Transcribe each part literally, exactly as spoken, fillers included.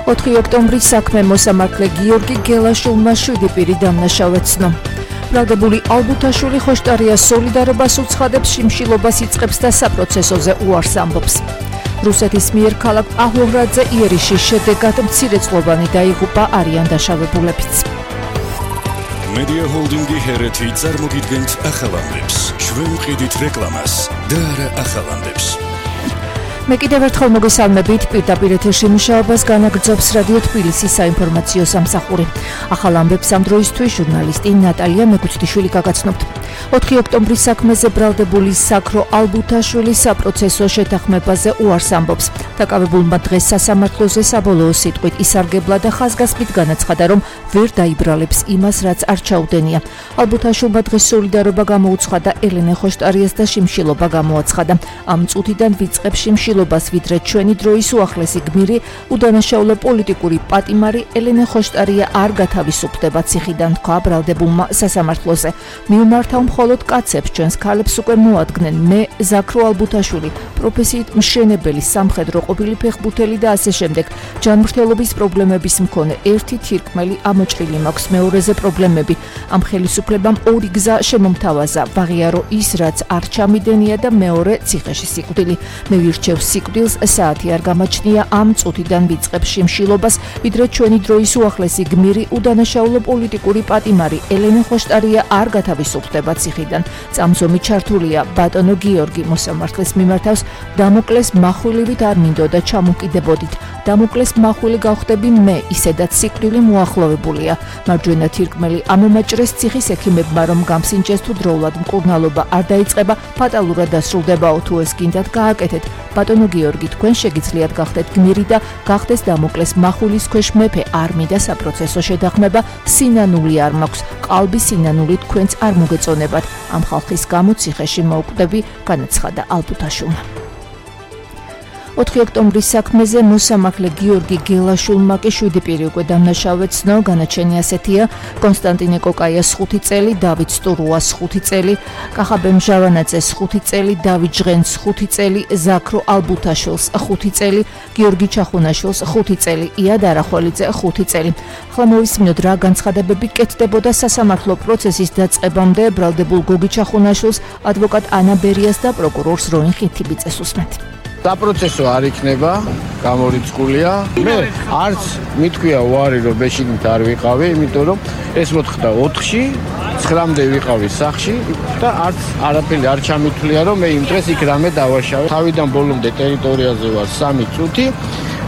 ოთხი ოქტომბრის საქმე მოსამართლე გიორგი გელაშვილმა შვიდი პირი დამნაშავე ცნო. ბრალდებული ალბუთაშვილი ხოშტარიას სოლიდარობას უცხადებს, შიმშილობას იწყებს და საპროცესოზე უარს ამბობს. რუსეთის მიერ ქალაქ პაჰლოვრადზე იერიშის შედეგად მცირეწყლობანი დაიღუპა, არიან დაშავებულებიც. Media Holding-ი ჰერეთი წარმოგიდგენთ ახალამდებს. ჩვენ ვყიდით რეკლამას და არა ახალამდებს. მე კიდევ ერთხელ მოგესალმებით, პირდაპირ ეთერში მუშაობას განაგრძობს რადიო თბილისის საინფორმაციო სამსახური. ახალ ამბებს ამ დროისთვის ჟურნალისტი ნატალია მეკუთვიშვილი გაგაცნობთ. ოთხი ოქტომბრის საქმეზე ბრალდებული საქრო ალბუთაშვილის საპროცესო შეთანხმებაზე უარს ამბობს. დაკავებულმა დღეს სასამართლოზე საბოლოო სიტყვით ისარგებლა და ხაზგასმით განაცხადა, რომ ვერ დაიბრალებს იმას, რაც არ ჩაუდენია. ალბუთაშვილმა დღეს სოლიდარობა გამოუცხადა, ელენე ხოშტარიას და შიმშილობა გამოაცხადა. ამ წუთიდან ვიწყებს შიმშილობას, ვიდრე ჩვენი დროის უახლესი გმირი, უდანაშაულო პოლიტიკური პატიმარი ელენე ხოშტარია არ გათავისუფლდება ციხიდან, თქვა ბრალდებულმა სასამართლოზე. მიუმართავ მხოლოდ კაცებს, ჩვენს ქალებს უკვე მოადგნენ. მე ზაქრო ალბუთაშვილი, პროფესიით მშენებელი, სამხედრო ყოფილი ფეხბურთელი და ასე შემდეგ. ჯანმრთელობის პრობლემების მქონე, ერთი თირკმელი ამოჭრილი მაქვს, მეორეზე პრობლემები. ამ ხელისუფლებამ ორი გზა შემომთავაზა, ვაღიარო ის, რაც არ ჩამიდენია და მეორე ციხეში სიკვდილი. მე ვირჩევ სიკვდილს, საათი არ გამაჩნია, ამ წუთიდან ვიწყებს შიმშილობას, ვიდრე ჩვენი დროის უახლესი გმირი, უდანაშაულო პოლიტიკური პატიმარი ელენე ხოშტარია არ გათავისუფლდება ციხიდან. წამსომი ჩართულია, ბატონო გიორგი მოსამართლეს მიმართავს, დამოკლეს מחვილივით არ მინდოდა ჩამოკიდებოდით. დამოკლეს מחვილი გავხდები მე, ისედაც სიკვდილი მოახლოვებულია. მარჯვენა თირკმელი ამომაჭრეს ციხის ექიმებმა, რომ გამსინჯეს თუ დროულად მკურნალობა არ დაიწყება, ფატალურად დასრულდებაო, თუ ეს გინდათ გააკეთეთ. ბატონო გიორგი, თქვენ შეგიძლიათ გახდეთ გმირი და გახდეს დამოკლეს מחვილის ქვეშ მეფე. არ მინდა საპროცესო შეთანხმება, სინანული არ მაქვს, ყალბი სინანული თქვენც არ მოგეწონებათ. ამ ხალხის გამო ციხეში მოვკვდები, განაცხადა ალბუთაშვილმა. ოთხი ოქტომბრის საქმეზე მოსამართლე გიორგი გელაშვილმა კი შვიდი პირი უკვე დამნაშავე ცნო. განაჩენი ასეთია: კონსტანტინე კოკაიას ხუთი წელი, დავით სტურუას ხუთი წელი, კახაბემ ჟავანაძეს ხუთი წელი, დავით ჟღენს ხუთი წელი, ზაქრო ალბუთაშვილს ხუთი წელი, გიორგი ჩახუნაშვილს ხუთი წელი, იად არახველიძე ხუთი წელი. ახლა მოვისმინოთ, რა განცხადებები კეთდებოდა სასამართლო პროცესის დაწყებამდე. ბრალდებულ გოგი ჩახუნაშვილს, ადვოკატ ანა ბერიას და პროკურორს როინ ხინთიბიძეს უსმენთ. საპროცესო არ იქნება, გამორიცხულია. მე არც მithქვია უარი, რომ ბეშიგით არ ვიყავი, იმიტომ რომ ეს მოხდა ოთხში, ცხრამდე ვიყავი სახში და არც არაფერი არ ჩამithვლია, რომ მე იმ დღეს იქ რამე დავაშავე. თავიდან ბოლომდე ტერიტორიაზე ვარ სამი წუთი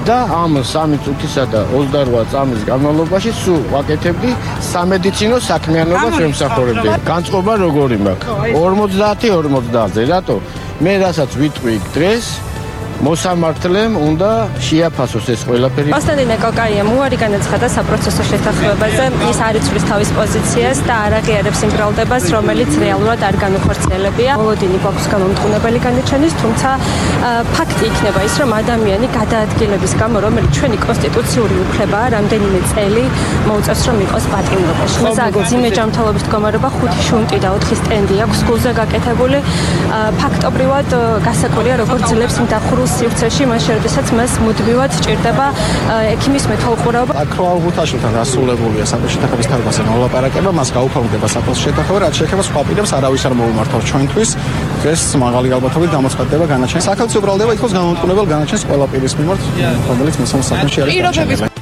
და ამ სამი წუთისა და ოცდაოთხ წამის განმავლობაში სულ ვაკეთებდი სამედიცინო საქმიანობას ვემსახურებდი. განწყობა როგორი მაქვს? ორმოცდაათი ორმოცდაათზე, რატო? მე რასაც ვიტყვი იქ დღეს მოსამართლემ უნდა შეაფასოს ეს ყველაფერი. კონსტანტინე კოკაიამ უარი განაცხადა საპროცესო შეთანხმებაზე, ის არ იცვლის თავის პოზიციას და არ აღიარებს იმ ბრალდებას, რომელიც რეალურად არ განუხორციელებია. მოლოდინი გვაქვს გამომტყუნებელი განაჩენის, თუმცა ფაქტი იქნება ის, რომ ადამიანი გადაადგილების გამო, რომელიც ჩვენი კონსტიტუციური უფლებაა, რამდენიმე წელი მოუწევს, რომ იყოს პატიმრობაში. მზაგ ძიმე ჯანმრთელობის მდგომარეობა, ხუთი შუნტი და ოთხი სტენდი აქვს გულზე გაკეთებული. ფაქტობრივად გასაკვირია, როგორ ძლებს მდახურულ სივრცეში, მაშინ როდესაც მას მუდმივად სჭირდება ექიმის მეთვალყურეობა. ზაქრო ალბუთაშვილთან დასრულებულია საპროცესო შეთანხმების თარგმანზე მოლაპარაკება, მას გაუფორმდება საპროცესო შეთანხმება, რაც შეეხება სხვა პირებს არავის არ მოუმართავს ჩვენთვის. ეს მაღალი ალბათობით გამოცხადდება განაჩენი. საქართველოს ბრალდება ითხოვს გამომტყუნებელ განაჩენს ყველა პირის მიმართ, რომელიც მისამ საქმეში არის დარჩენილი.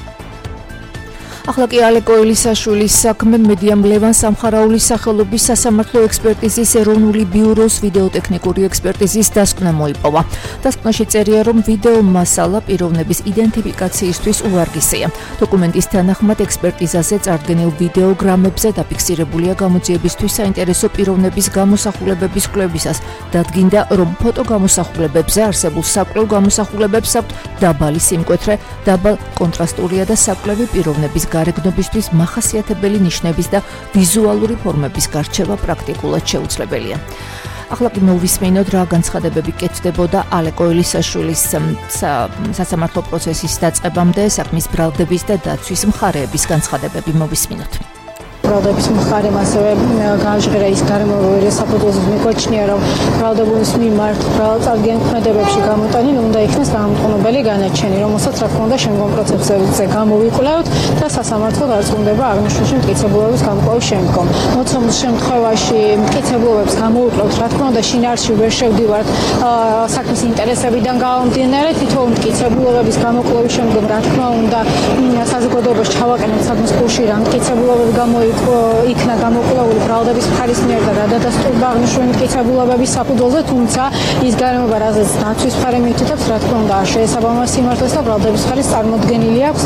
ახლა კი ალე კოილისაშვილის საქმე. მედიამ ლევან სამხარაულის სახელობის სასამართლო ექსპერტიზის ეროვნული ბიუროს ვიდეოტექნიკური ექსპერტიზის დასკვნა მოიპოვა. დასკვნაში წერია, რომ ვიდეო მასალა პიროვნების იდენტიფიკაციისთვის უვარგისია. დოკუმენტის თანახმად ექსპერტიზაზე წარდგენილ ვიდეოგრამებზე დაფიქსირებულია გამოძიებისთვის საინტერესო პიროვნების გამოსახულებების კვლევისას. დადგინდა, რომ ფოტოგამოსახულებებზე არსებულ საკვლევ გამოსახულებებს აქვთ დაბალი სიმკვეთრე, დაბალ კონტრასტულია და საკვლევი პიროვნების გარეგნობისთვის მახასიათებელი ნიშნების და ვიზუალური ფორმების გარჩევა პრაქტიკულად შეუძლებელია. ახლა კი მოვისმენოთ, რა განცხადებები კეთდებოდა ალე კოილისაშვილის სასამართლო პროცესის დაწყებამდე, საქმის ბრალდების და დაცვის მხარეების განცხადებები მოვისმინოთ. ბრალდების მხარემ ასევე გააჟღერა ის გარემოებრივი საფუძველზე მიგოჩნია, რომ ბრალდებულის მიმართ ბრალწარგიან ქმედებებში გამოტანილი უნდა იქნეს გამომტყუნებელი განაჩენი, რომელსაც რა თქმა უნდა შემდგომ პროცესებზე გამოვიკვლევთ და სასამართლო დარწმუნდება აღნიშნული მტკიცებულების გამკვლევის შემდგომ. მოცემულ შემთხვევაში მტკიცებულებს გამოვიკვლევთ, რა თქმა უნდა შინაარსში ვერ შევდივართ საქმის ინტერესებიდან გამომდინარე, თითოეულ მტკიცებულების გამოკვლევის შემდგომ რა თქმა უნდა საზოგადოებას ჩავაყენებთ საქმის კურსში რა მტკიცებულები გამოიქნა გამოკვლეული ბრალდების მხარის მიერ და რა დადასტურდა აღნიშნული მტკიცებულებების საფუძველზე, თუმცა ის გარემოება, რაზეც დაცვის მხარე მიუთითებს, რა თქმა უნდა არ შეესაბამება სიმართლეს და ბრალდების მხარის წარმოდგენილი აქვს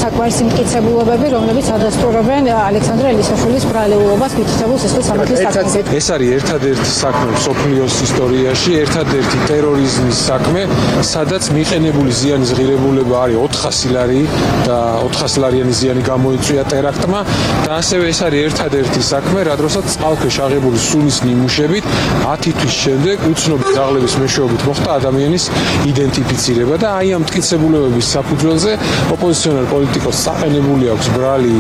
საკმარისი მტკიცებულებები, რომლებიც ადასტურებენ ალექსანდრე ელისაშვილის ბრალეულობას მითითებულ სისხლის სამართლის საქმეზე. ეს არის ერთადერთი საქმე მსოფლიოს ისტორიაში, ერთადერთი ტერორიზმის საქმე, სადაც მიყენებული ზიანის ღირებულება არის ოთხასი ლარი და ოთხასი ლარიანი ზიანი გამოიწვია ტერაქტმა და ასევე ეს არის ერთადერთი საქმე, რა დროსაც წყალქვეშ აღებული სუნის ნიმუშებით ათი თვის შემდეგ უცნობი ძაღლების მეშვეობით მოხდა ადამიანის იდენტიფიცირება და აი ამ მტკიცებულებების საფუძველზე ოპოზიციონერ პოლიტიკოსს საყენებული აქვს ბრალი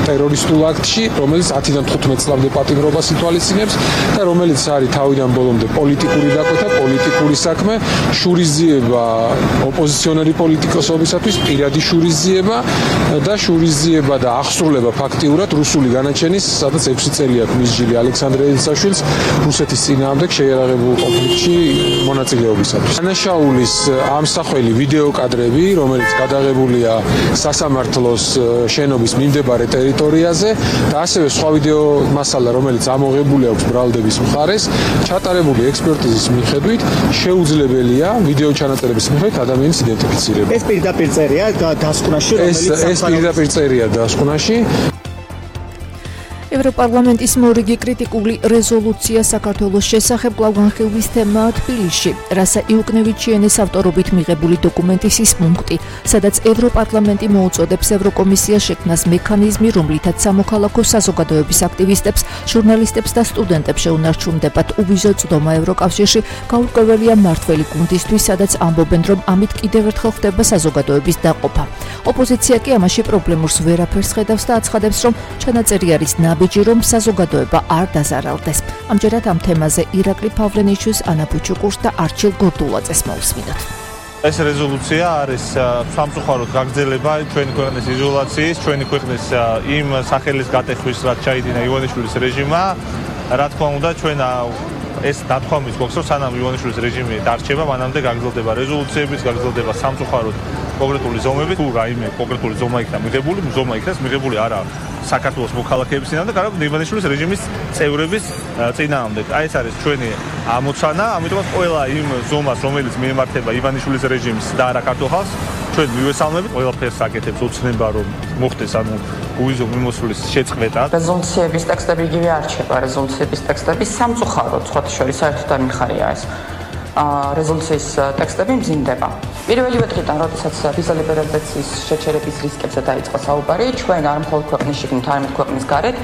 ტერორისტულ აქტში, რომელიც ათიდან თხუთმეტ წლამდე პატიმრობას ითვალისწინებს და რომელიც არის თავიდან ბოლომდე პოლიტიკური დაკვეთა, პოლიტიკური საქმე, შურისძიება ოპოზიციონერი პოლიტიკოსობისათვის, პირადი შურისძიება და შურისძიება და აღსრულება ფაქტიურად რუსული განაჩენის, სადაც ექვსი წელი აქვს მისჯილი ალექსანდრე ელისაშვილს რუსეთის წინააღმდეგ შეიარაღებულ კონფლიქტში მონაწილეობისათვის. დანაშაულის ამსახველი ვიდეო კადრები, რომელიც გადაღებულია სასამართლოს შენობის მიმდებარე ტერიტორიაზე და ასევე სხვა ვიდეო მასალა, რომელიც ამოღებული აქვს ბრალდების მხარეს, ჩატარებული ექსპერტიზის მიხედვით შეუძლებელია ვიდეო ჩანაწერების მიხედვით ადამიანის იდენტიფიცირება. ეს პირდაპირ წერია დასკვნაში, რომელიც ეს პირდაპირ წერია დასკვნაში. ევროპარლამენტის მორიგი კრიტიკული რეზოლუცია საქართველოს შესახებ კვლავ განხილვის თემაა თბილისში. რასა იუკნევიჩიანის ავტორობით მიღებული დოკუმენტის ის პუნქტი, სადაც ევროპარლამენტი მოუწოდებს ევროკომისიას შექმნას მექანიზმი, რომლითაც სამოქალაქო საზოგადოების აქტივისტებს, ჟურნალისტებს და სტუდენტებს შეუნარჩუნდებათ უვიზო წვდომა ევროკავშირში, გაურკვეველია მმართველი გუნდისთვის, სადაც ამბობენ, რომ ამით კიდევ ერთხელ ხდება საზოგადოების დაყოფა. ოპოზიცია კი ამაში პრობლემურს ვერაფერს ხედავს და აცხადებს, რომ ჩანაწერი არის ნაბიჯი, რომ საზოგადოება არ დაზარალდეს. ამჯერად ამ თემაზე ირაკლი ფავლენიშვილს, ანა ბუჩუკურს და არჩილ გორდულაძეს მოусმინოთ. ეს რეზოლუცია არის სამწუხაროდ გაგრძელება ჩვენი ქვეყნის იზოლაციის, ჩვენი ქვეყნის იმ სახელის გატეხვის, რაც ჩაიდინა ივანიშვილის რეჟიმმა. რა თქმა უნდა, ჩვენ ეს დათქვამის გვაქვს, რომ სანამ ივანიშვილის რეჟიმი დარჩება, მანამდე გაგრძელდება რეზოლუციების, გაგრძელდება სამწუხაროდ კონკრეტული ზომები. თუ რაიმე კონკრეტული ზომა იქნა მიღებული, ზომა იქნას მიღებული არა საქართველოს მოქალაქეების წინააღმდეგ, არამედ ივანიშვილის რეჟიმის წევრების წინააღმდეგ. აი ეს არის ჩვენი ამოცანა, ამიტომაც ყველა იმ ზომას, რომელიც მიემართება ივანიშვილის რეჟიმს და არა ქართულ ხალხს, ჩვენ მივესალმებით, ყველაფერს აკეთებს ოცნება, რომ მოხდეს ანუ უვიზო მიმოსვლის შეწყვეტა. რეზოლუციების ტექსტები იგივე არჩება, რეზოლუციების ტექსტები სამწუხაროდ, სხვათა შორის საერთოდ არ მიხარია ეს. რეზოლუციის ტექსტები მძიმდება. პირველივე დღიდან, როდესაც ვიზა ლიბერალიზაციის შეჩერების რისკებზე დაიწყო საუბარი, ჩვენ არ მხოლოდ ქვეყნის შიგნით, არამედ ქვეყნის გარეთ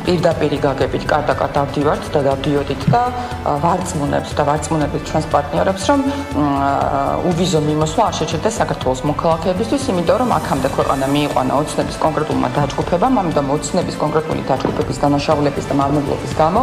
პირდაპირ გაგებით კარდაკარ დავდივართ და დავდიოდით და ვარწმუნებთ და ვარწმუნებით ჩვენს პარტნიორებს, რომ უვიზო მიმოსვლა არ შეჩერდეს საქართველოს მოქალაქეებისთვის, იმიტომ რომ აქამდე ქვეყანა მიიყვანა ოცნების კონკრეტულმა დაჯგუფებამ, ამიტომ ოცნების კონკრეტული დაჯგუფების დანაშაულების და მავნებლობის გამო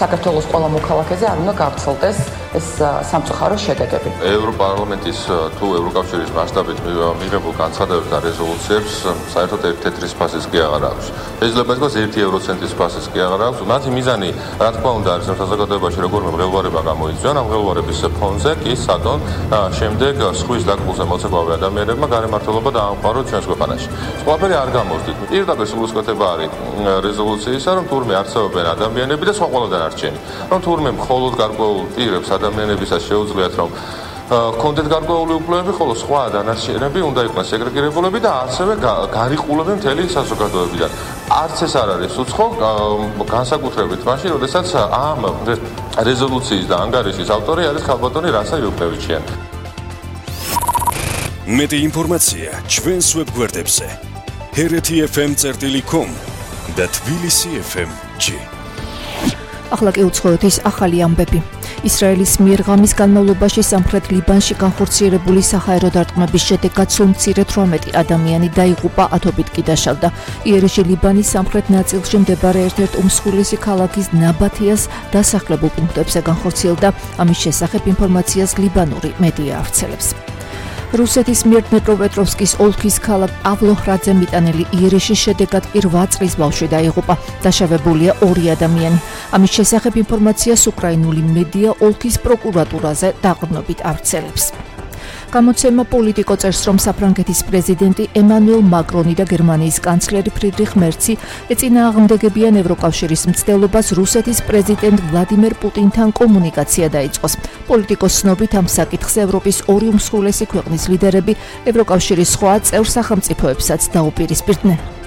საქართველოს ყველა მოქალაქეზე არ უნდა გავრცელდეს ეს სამწუხარო შედეგები. ევროპარლამენტის თუ ევროკავშირის მასშტაბით მიღებულ განცხადებებს და რეზოლუციებს საერთოდ ერთ-ერთი სპასის კი აღარ აქვს. შეიძლება ითქვას ერთი ევროცენტის სპასის კი აღარ აქვს. მათი მიზანი, რა თქმა უნდა, არის საზოგადოებაში როგორ მღელვარება გამოიწვიონ, ამ მღელვარების ფონზე კი საკონ შემდეგ სხვის დაკბულზე მოცეკვავე ადამიანებმა გარემართლობა დაამყაროთ ჩვენს ქვეყანაში. ყველაფერი არ გამოსდით. პირდაპირ სულისკვეთება არის რეზოლუციისა, რომ თურმე არსებობენ ადამიანები და სხვა ყველა დანარჩენი. რომ თურმე მხოლოდ გარკვეულ პირებს ადამიანებისაც შეუძლიათ რომ კონტენტ გარკვეული უფლებები, ხოლო სხვა დანარჩენები უნდა იყვნენ სეგრეგირებულები და ასევე გარიყულები მთელი საზოგადოებიდან. არც ეს არ არის უცხო, განსაკუთრებით მაშინ, როდესაც ამ რეზოლუციის და ანგარიშის ავტორი არის ქალბატონი რასა იუკნევიჩიანი. მეტი ინფორმაცია ჩვენს ვებგვერდებზე ჰერეთი ეფ ემ წერტილი კომ და თბილისი ეფ ემ ჯი. ახლა კი უცხოეთის ახალი ამბები. ისრაელის მიერ ღამის განმავლობაში სამხრეთ ლიბანში განხორციელებული საჰაერო დარტყმების შედეგად სულ მცირე თვრამეტი ადამიანი დაიღუპა, ათობით კი დაშავდა. იერეში ლიბანის სამხრეთ ნაწილში მდებარე ერთ-ერთ უმსხვილესი ქალაქის ნაბათიას დასახლებულ პუნქტებზე განხორციელდა. ამის შესახებ ინფორმაციას ლიბანური მედია ავრცელებს. რუსეთის მიერ დნეპროპეტროვსკის ოლქის ქალაქ პავლოჰრადზე მიტანილი იერეშის შედეგად კი რვა წლის ბავშვი დაიღუპა. დაშავებულია ორი ადამიანი. ამის შესახებ ინფორმაციას უკრაინული მედია ოლქის პროკურატურაზე დაყრდნობით ავრცელებს. გამოცემა პოლიტიკო წერს, რომ საფრანგეთის პრეზიდენტი ემანუელ მაკრონი და გერმანიის კანცლერი ფრიდრიხ მერცი ეწინააღმდეგებიან ევროკავშირის მცდელობას რუსეთის პრეზიდენტ ვლადიმერ პუტინთან კომუნიკაცია დაიწყოს. პოლიტიკოს ცნობით ამ საკითხზე ევროპის ორი უმსხვილესი ქვეყნის ლიდერები ევროკავშირის სხვა წევრ სახელმწიფოებსაც დაუპირისპირდნენ.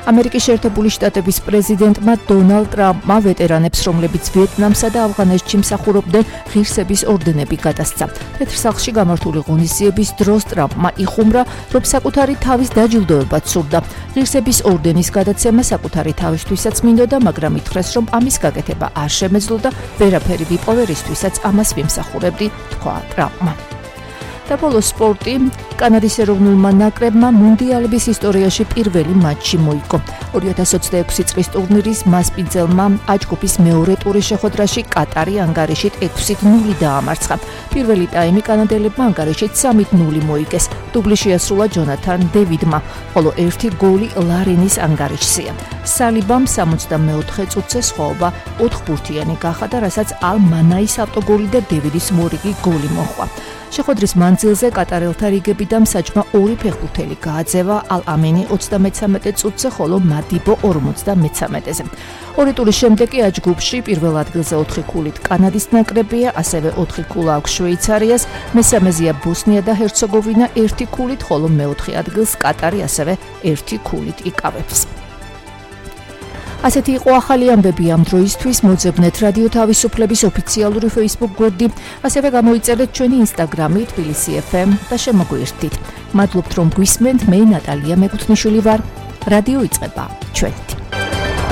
ამერიკის შეერთებული შტატების პრეზიდენტმა დონალდ ტრამპმა ვეტერანებს, რომლებიც ვიეტნამსა და ავღანეთში მსახურობდნენ, ღირსების ორდენები გადასცა. თეთრ სახლში გამართული ღონისძიების დროს ტრამპმა იხუმრა, რომ საკუთარი თავის დაჯილდოებაც სურდა. ღირსების ორდენის გადაცემა საკუთარი თავისთვისაც მინდოდა, მაგრამ ითხრეს, რომ ამის გაკეთება არ შემეძლო და ვერაფერი ვიპოვერისთვისაც ამას ვიმსახურებდი, თქვა ტრამპმა. და ბოლოს სპორტი. კანადის ეროვნულმა ნაკრებმა მუნდიალების ისტორიაში პირველი მატჩი მოიგო. ორი ათას ოცდაექვსი წლის ტურნირის მასპინძელმა აჯგუფის მეორე ტურის შეხვედრაში კატარი ანგარიშით ექვსით ნული დაამარცხა. პირველი ტაიმი კანადელებმა ანგარიშით სამით ნული მოიგეს. დუბლი შეასრულა ჯონათან დევიდმა, ხოლო ერთი გოლი ლარენის ანგარიშზეა. სალიბამ სამოცდამეოთხე წუთზე სხვაობა ოთხბურთიანი გახადა, რასაც ალ მანაის ავტოგოლი და დევიდის მორიგი გოლი მოჰყვა. შეხვედრის მანძილზე კატარელთა რიგებიდან საჯმა ორი ფეხბურთელი გააძევა, ალ ამინი ოცდამეცამეტე წუთზე, ხოლო მადიბო ორმოცდამეცამეტეზე. ორი ტურის შემდეგ კი აჯგუფში პირველ ადგილზე ოთხი ქულით კანადის ნაკრებია, ასევე ოთხი ქულა აქვს შვეიცარიას, მესამეზეა ბოსნია და ჰერცეგოვინა ერთი ქულით, ხოლო მეოთხე ადგილს კატარი ასევე ერთი ქულით იკავებს. ასეთი იყო ახალი ამბები ამ დროისთვის. მოძებნეთ რადიო თავისუფლების ოფიციალური Facebook გვერდი, ასევე გამოიწერეთ ჩვენი Instagram-ი თბილისი ეფ ემ და შემოგვიერთდით. მადლობთ რომ გვისმენთ. მე ნატალია მეკუთვნიშვილი ვარ. რადიო იწყება ჩვენ.